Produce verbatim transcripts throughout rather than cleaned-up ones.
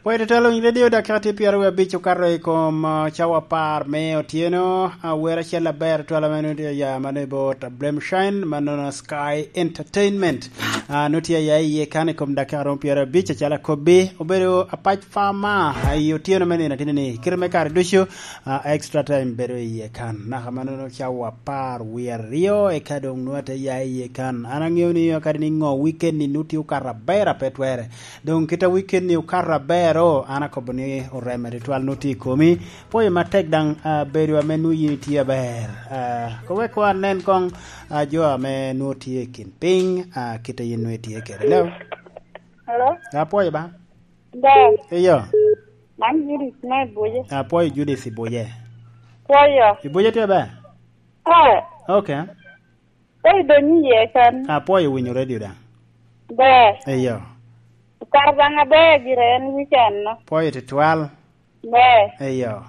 Owete telo i radio, dakika tye pyeraryo abic okato i kom, ah, cawa apar me otyeno. Ah, wer acel aber twala ma nongo tye aya, mano i bot Blem Shine, mano na Sky Entertainment. Ah, nongo tye aya iye kan i kom dakika romo pyeraryo abic, acalo akobbi. Obedo apac fama, ah, i otyeno me nino atini ni, kite me kare ducu, ah, extra time bedo iye kan. Naka ma nongo cawa apar wie aryo, eka doŋ nongo ate ya iye kan. An aŋeo ni kadi ni ŋo weekend ni nongo tye okato aber, a pe twere. Doŋ kit a weekend ni okato aber, o, an akobo ni oreme tutwal nongo tye i komi. Pwoyo matek daŋ, ah, bedo ame nwoŋo yin itye aber. Ah, ko wek wa nen koŋ, ah, jo ame nwoŋo tye i kin piny, ah, kit a yin nwoŋo itye kede. Hello? Hello? Apwoyo ba? Ber. Eyo. Man Judith me Buje. Apwoyo Judith i Buje. Pwoyo. I Buje tye ber? Eh. Okay. Pwoyo donyo iye kan. Apwoyo winyo radio daŋ. Ber. Eyo. Kar daŋ aber gire en weekend no. Pwoyo tutwal. Ber. Eyo.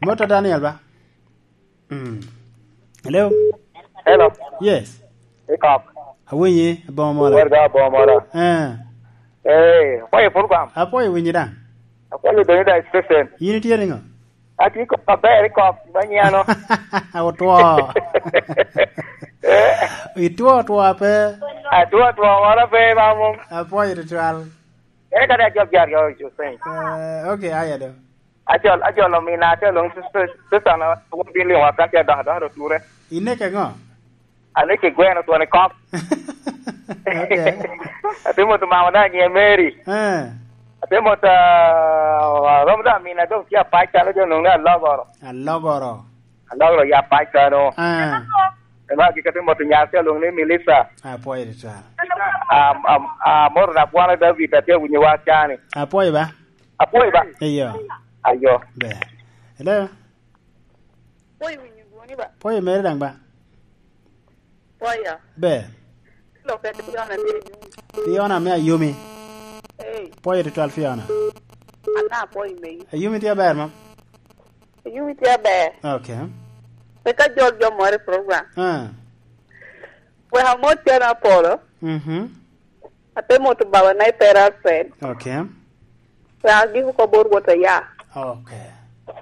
Mota Daniel ba? Mm. Hello? Hello. Yes. Ikop. Awinyi, aboŋo mola. Wer ga aboŋo mola. Eh. Eh, apwoyo program. Apwoyo winyi daŋ. Apwoyo donyo da station. Yin itye niŋo? Atye kop aber, ikop, ba nyiano. Otwo. Eh? Itwo otwo ape? Atwo otwo, moro pe, mamum. Apwoyo tutwal. Ere kadi ajok jari, ojo, thank. Eh, okay, aya do. Ajol, ajol omina, ate lwong sis-, sis-, sister na, won bin liŋwa ka ce dok, dok, dok ture. Ineke ŋo? Aneke gweno twon i kop. Okay. Ate moto mama da nyiŋe Mary. Eh. Ate moto, ah, rom da mina dong tye apac calo jo nwoŋo ni alogoro. Alogoro. Alogoro ya apac kano. Eh. Ema gik ate moto nyar tye lwong ni Melissa. Apwoyo tutwal. Am, am, amoto na bwana David ate winyo wa cani. Apwoyo ba? Apwoyo ba? Eyo. Ayo. Ber. Hello? Pwoyo winyo dwoni ba? Pwoyo mere daŋ ba? Pwoyo. Ber. Lokke Fiona me Ayumi. Fiona me Ayumi. Hey. Pwoyo tutwal Fiona. Ana apwoyo megi. Ayumi tye aber, mam? Ayumi tye aber. Okay. Wek ajol jo moro i program. Ah. Wek amot Cen Apolo. Mhm. Ate moto baba na i Pera Alfred. Okay. Wek agik oko bot Wot Aya. Okay.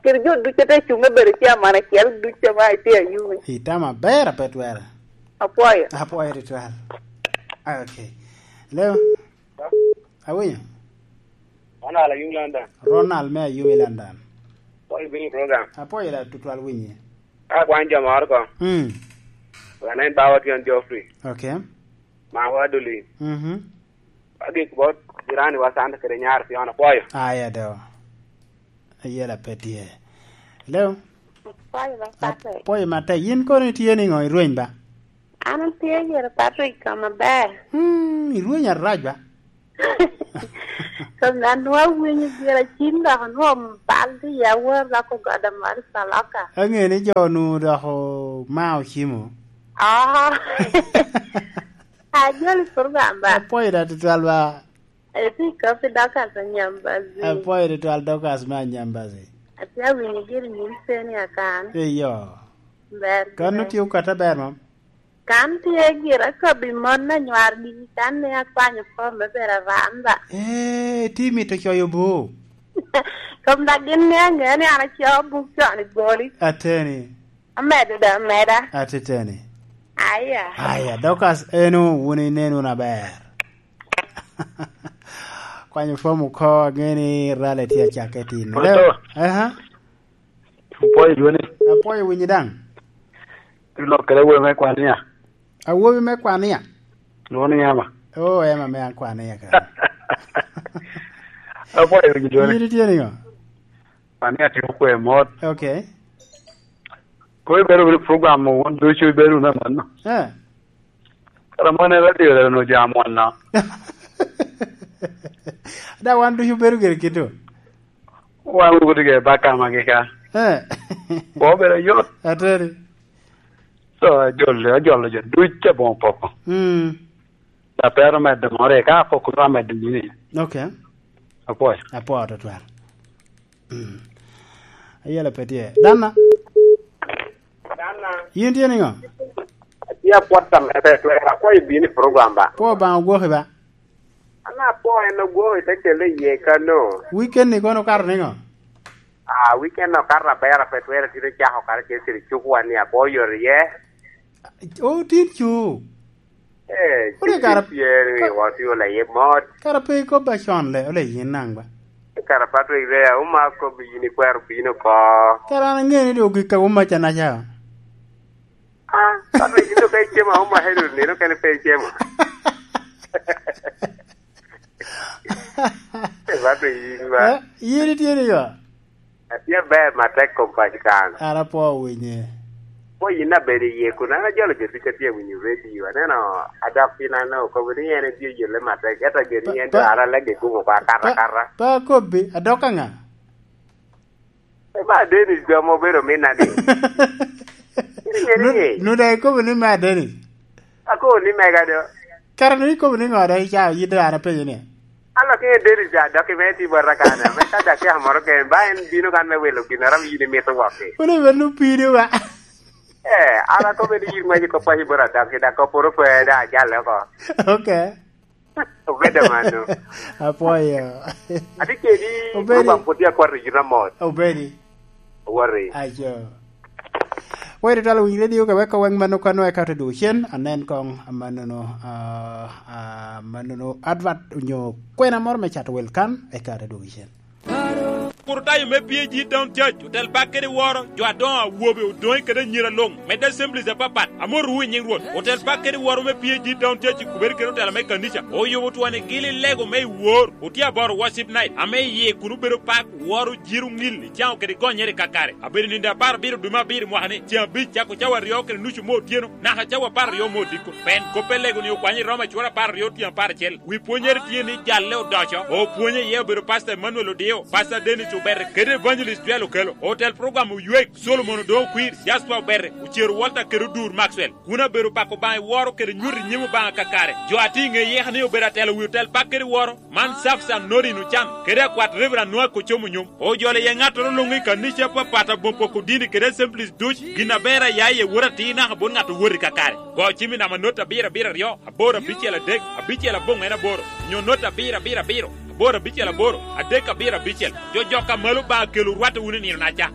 Kede jo ducu ate cuŋ me bedo caman acel ducu ame itye Ayumi. Itamo aber, a pe twere. Apwoyo. Apwoyo tutwal. Okay. Hello? Awinyo? Ronald Ayumi London. Ronald me Ayumi London. Apwoyo bino i program. Apwoyo da tutwal winyi. Ka kwan jo moro ko. Mm. Wan en bawa Tyen Geoffrey. Okay. Mawa Adolin. Mhm. Agik bot jirani wa Santa kede nyar Fiona, apwoyo. Aya do. Ayela pe tye. Hello? Apwoyo matek. Apwoyo matek. Yin kono itye niŋo, irweny ba? An atye gire Patrick kama ber. Hmm, irweny arac ba? Kom an nwa winyo gire cim dok nwa bal di ya wor dok ogoda mar Saloka. Ange ni jo nu dok o-, ma ocimo. Ah. Ajoli program ba? Apwoyo da tutwal ba. Eti kopi Dorcas Anyambazi. Apwoyo tutwal Dorcas me Anyambazi. Atye awinyo giri nyim ceni akan. Eyo. Ber. Kan gire. Otye okata ber, mam? Kan tye gire akobi mon anywar gigi kan ni akwanyo fom me bedo aranda. Eh, ti mito coyo bo. Kom da gin ni ange ni an acoo buk con i boli. Ateni. Amedo da, ameda. Atiteni. Aya. Aya, Dorcas, eno, wun inen wunu aber. Kwanyo fom oko, ange ni rale tye acakke tin. Pwod to. Aha. Apwoyo dwoni. Apwoyo winyi daŋ. Ilok kede awobi me Kwania. Awobi me Kwania? Dwoni Emma. Oh, Emma me Kwania ka. Apwoyo winyi dwoni. Yiri tye niŋo? Kwania tye okwe mot. Okay. Ko ibedo wunu i program wun ducu ibedo wunu amanno. Eh. Kara mon en radio reno jo amwonna. Da wan ducu bedo gire kito. Wan wuto ge baka magi ka. Eh. Kwa obedo yot. Ateri. So, ajolo, ajolo jo ducu aboŋo poko. Mm. Da pe aromo medo more, ka apoko nwa medo nini. Okay. Apwoyo. Apwoyo tutwal. Mm. Ayela pe tye. Dana. Dana. Yin tye niŋo? Atye apwot tam ete twera. Akwayo ibino i program ba. Kwo Obaŋa ogwoki ba? An apwoo en ogwoko i te kelle iye kano. Weekend ni kono okato niŋo? Ah, weekend okato aber, pe twero tito cako karacel kede cukwa ni apwoo yot iye. Oh, tin cu. Eh, Ore cik kara tye ni ka- watio laye mot. Kara pe ikobba con le, ole yin naŋ ba? Kara Patrick Rea, uma kobbi yin ikwero bino ko. Kara an aŋeyo ni dong ogik ka uma ca naca. Ah, Patrick, yin dong ka icemo, uma hero nino kene pe icemo. Patrick, yin ba. Eh, yin itye ni yo? Atye aber matek kom pac kan. An apwoo winye. Ko yin abedo iye kun an ajolo jo ducu atye winyo radio. Aneno adok piny an okobo ni en etye yelle matek. Ento gin ni en dok ara lege gumo ko akata akata. Pa kobbi, adok aŋa? E ba Dennis jo mo bedo mina ni. Iri ngeni ni. Nuda ikobo ni ma Dennis. Akobo ni mega do. Kara ni ikobo ni ŋo do ica yit dano apenyo ni. An lok ŋe Dennis ja dok i me ti bota kan, me ka dakika moro ken, ba en bino kan me wilo gin aram yin imito wok-ki. Wala bed nu pidi wa. Eh, an akobo ni yin ŋwec i kop paci bota dok i dak kop poro pe da ajale oko. Okay. Obedo mano. Apwoyo. Ati kedi. Obedi. Program pwod tye akwat i yita mot. Obedi. Owati. Aco. Wai tutwal winy radio ka weko weng mano kano eka te dwogo cen, anen kong amanono, ah, ah, manono advert onyo kwena moro me cato wel kan, eka te dwogo cen. Kur tayo me P A G Town Church, otel bak kede woro, jo adoŋo awobe, odoŋe kede anyira luŋ, medde assemblies apapat, amotowu i nyiŋ Rwot. Otel bak kede woro me P A G Town Church i kubere kede otela me kanica, oyubo twoni gili lego me i wor, otye aboro worship night, ame iye kun obedo pak, woro, jiro, ŋil, icaŋo kede gonyere kakare. Abedo nindo apar abiro dwe me abiro mwaka ni, ceŋ abic cako cawa aryo kede nucu me otyeno, naka cawa apar aryo me odiko. Pen, kop pe lego ni okwanyo i Roma cura apar aryo tyen apar acel. Wi pwonyere tye ni jalle odoco, opwonye iye obedo Pastor Emmanuel Odio, Pastor Dennis Obere, kede Evangelist Joel Okelo. Otel program Oywek, Solomon Odongo Kwir, Jasper Obere, Ocero Walter kede Odur Maxwell. Kun abedo pako Obaŋa i woro kede nyuto i nyim Obaŋa kakare. Jo a tye i ŋe yeka ni obedo atelo wi otel bak kede woro, man Safsan Norin Ocan, kede akwat Reverend Noah Kocomo Nyom. Ojolo iye ŋattoro luŋ i kanica apapat aboŋ poko dini kede assemblies duc, gin aber a ya iye wot atir naka bot ŋat owot i kakare. Go cim i namba not abiro abiro aryo, aboro abicel adek, abicel aboŋwen aboro, nyo not abiro abiro abiro, aboro abicel aboro, adek abiro abicel. Jo jok a malo Obaŋa kelo rwatte wunu i nino naca.